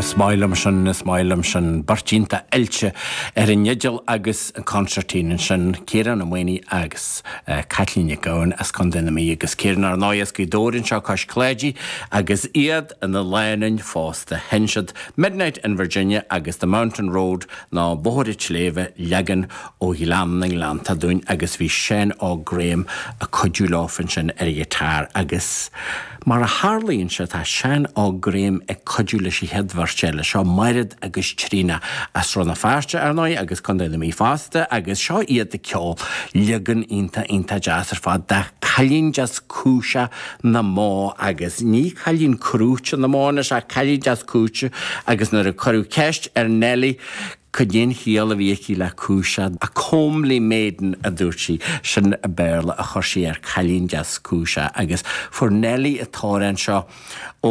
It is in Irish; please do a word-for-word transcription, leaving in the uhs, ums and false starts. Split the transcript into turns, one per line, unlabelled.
Is maith liom sin is maith liom sin beirt iontach oilte ar an fhidil agus an consairtín ansin Ciarán Ó Maonaigh agus uh, Caitlín Nic Gabhann as Contae na Mí agus Ciarán ar ndóigh as Gaoth Dobhair anseo cois Cláidí agus iad ina lánúin fosta sheinn siad Midnight in Virginia agus The Mountain Road ná Bóthar an tSléibhe leagan ó Ghleann na nGleannta dúinn agus bhí Seán Óg Graham ag cuidiú leo ansin ar an ghiotár agus mar a tharlaíonn sé tá Seán Óg Graham ag cuidiú leis an chéad bheirt eile seo Mairéad agus Tríona as Srath na Feirste ar ndóigh agus Contae na Mí fosta agus seo iad ag ceol leagan iontach iontach deas ar fad de Cailín Deas Cúiseach na mBó agus ní cailín crúite na mbó is ach cailín deas cúiseach agus nuair a cuireadh ceist ar Nelly Cad é an chiall a bhí aici le cúiseach a comely maiden a dúirt sí sin an Béarla a chuir sí ar cailín deas cúiseach agus fuair Nelly an t-amhrán seo ó